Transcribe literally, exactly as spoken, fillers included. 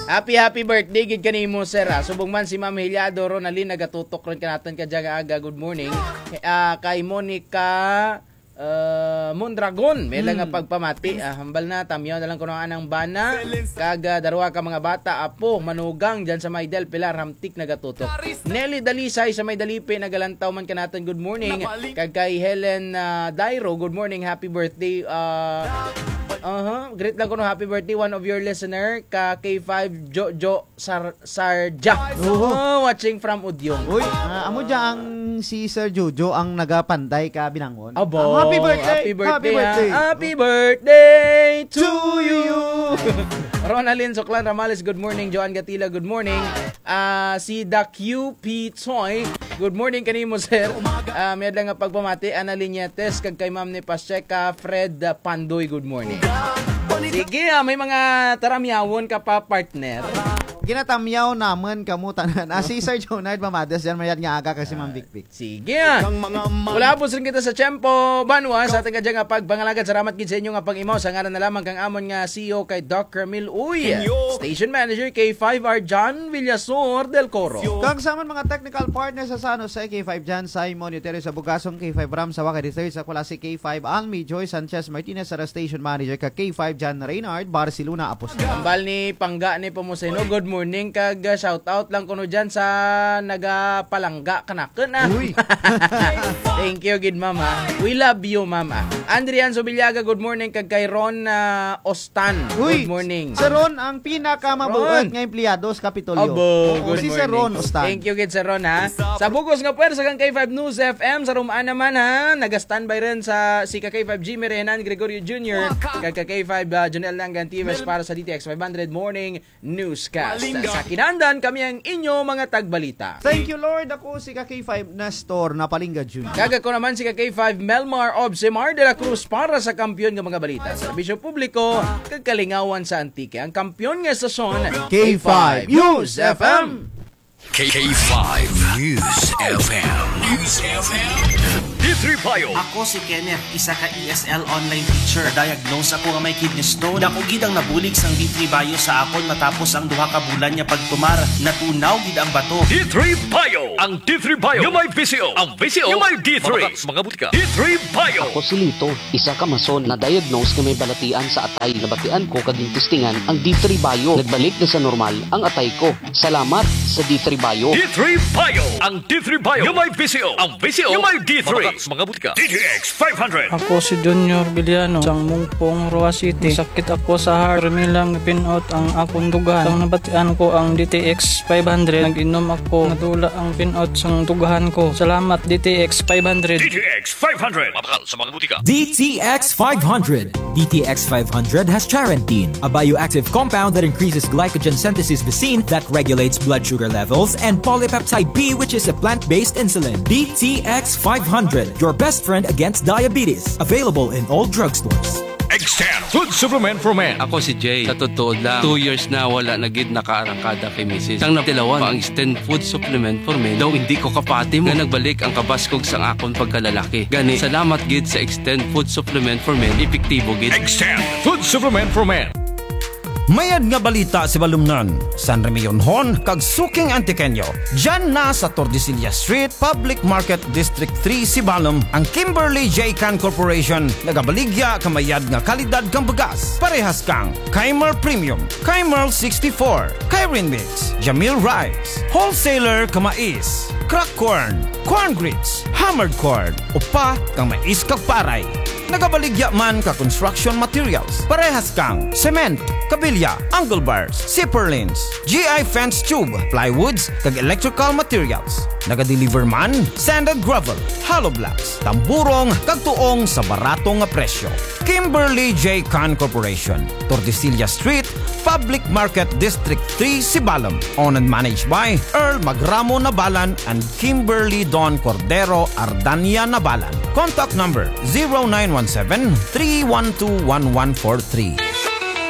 Happy, happy birthday gid kanimo, sir, ah. Subong man si Ma'am Heliado Ronaldin, nagatutok run kanatun kadya nga aga. Good morning. Ah, kay Monica, ah, Mondragon, may lang nga pagpamati. Ah, hambal na, tamyaw na lang kuno anang bana. Kag, ah, darwa ka mga bata, apo, manugang, dyan sa may Del Pilar, Hamtic, nagatutok. Nelly Dalisay sa may Dalipe, nagalantaw man kanatun, good morning. Kag kay Helen, ah, Dairo, good morning, happy birthday. Ah, aha, greet lang kuno, happy birthday, one of your listener, ka K five Jojo Sar-, Sarja. Oo. Oh, watching from Udyong. Uy, ah, amo dya ang si Sir Jojo ang nagapanday ka binangon. Abo, ah, happy birthday, happy birthday, happy birthday, ah. Happy birthday to you. Ronaldin Suklan Ramales, good morning. Joan Gatila, good morning. Ah, si The Q P Choi, good morning kanimo, sir. Ah, may adlaw nga pagpamati, Ana Liñetes, kag kay Ma'am ni Pacheca, Fred, ah, Pandoy, good morning. Sige, ah, may mga taramyawon ka pa, partner. Ginatamyaw namun kamo tanan. Ah, si Sir Jonard Mamades dyan, mayad nga aga kay si Ma'am Vic Vic. Sige, ah. Wala po sa kita sa tiyempo, banwa, sa ating kadya nga pagpangalagad. Salamat gid sa inyo nga pag-imaw. Sa ngaran na lamang kang amon nga C E O kay Doc Ramil Uy, Station Manager K five R John Villasor del Coro. Kag sa amon mga technical partner sa San Jose, K five John Simon Uteres, sa Bugasong, K five Ram Sawaka the third, sa Culasi, K five Almi Joy Sanchez Martinez, sa Station Manager ka K five John Reynard Barcelona Apostol. Hambal ni Pangga ni Pomuseno, good morning, kag, ah, shout out lang kuno dyan sa nagapalangga kanakun, ah. Uy. Thank you gid, ma'am, ah. We love you, ma'am, ah. Andrian Subiliaga, good morning, kag kay Ron, ah, Ostan. Uy, good morning. Sir Ron, ang pinakamabuot nga empleyado sa Kapitolyo. Abo, oo, good morning. Si Sir Ron Ostan. Thank you gid, Sir Ron, ha. Sa bug-os nga pwersa kang K five News F M, sa Roman naman, ha. Naga-standby run sa si ka K five Jimmy Renan Gregorio Junior, kag ka K five, ah, Jonel Langan Tives para sa D T X five hundred Morning Newscast. Sa kinandan, kami ang inyo mga tagbalita. Thank you, Lord. Ako si ka K five Nestor Napalingga Junior. Kag ako naman si ka K five Melmar Obsemar de la Cruz para sa kampiyon nga mga balita, serbisyo publiko, kag kalingawan sa Antique. Ang kampiyon nga estasyon, K five News F M. K five News F M. News F M. D three Bio. Ako si Kenneth, isa ka E S L online teacher. Diagnose ako nga may kidney stone. Dako gid ang nabulig sang D three Bio sa akon matapos ang duha ka bulan nga pagtumar. Natunaw gid ang bato. D three Bio. Ang D three Bio nga may V C O. Ang V C O nga may D three. Mga butika. D three Bio. Ako si Lito, isa ka mason, na-diagnose nga may balatian sa atay. Nabatian ko kag gintistingan ang D three Bio. Nagbalik na sa normal ang atay ko. Salamat sa D three Bio. D three Bio. Ang D three Bio nga may V C O. Ang V C O nga may D three. Mga butika. D T X five hundred. Ako si Junior Villano, sang Mungpong, Roa City. Sakit ako sa heart. Permi lang pin-out ang akon dughan. Sang nabatian ko ang D T X five hundred, nag-inom ako. Nadula ang pin-out sang dughan ko. Salamat, D T X five hundred. D T X five hundred. Mabakal sa mga butika. D T X five hundred. D T X five hundred has charantine, a bioactive compound that increases glycogen synthesis vacin that regulates blood sugar levels, and polypeptide B, which is a plant-based insulin. D T X five hundred, your best friend against diabetes. Available in all drugstores. Extend Food Supplement for Men. Ako si Jay. Sa totoo lang, two years na wala na gid nakaarangkada kay misis. Sang natilawan pa ang Extend Food Supplement for Men, daw indi ko kapati mo nga nagbalik ang kabaskog sang akon pagkalalaki. Gani, salamat gid sa Extend Food Supplement for Men, epektibo gid. Extend Food Supplement for Men. Mayad nga balita sa Balumnon, San Remillon-hon, kag suking Antiqueño. Dyan na sa Tordesillas Street, Public Market, District three, Sibalom, ang Kimberly J Can Corporation, nagabaligya ka mayad nga kalidad kang bugas. Parehas kang Keimer Premium, Keimer sixty-four, Keirin Mix, Jamil Rice, Wholesaler ka mais, crack corn, corn grits, hammered corn, upa kang mais kag paray. Nagabaligya man ka construction materials, parehas kang cement, kabilya, angle bars, zipper lines, G I fence tube, plywoods, kag electrical materials. Nagadeliver man, sand and gravel, hollow blocks, tamburong, kag tuong sa barato nga presyo. Kimberly J Can Corporation, Tordesillas Street, Public Market, District three, Sibalom. Owned and managed by Earl Magramo Nabalan and Kimberly Don Cordero Ardania Nabalan. Contact number zero nine one seven, three one two, one one four three.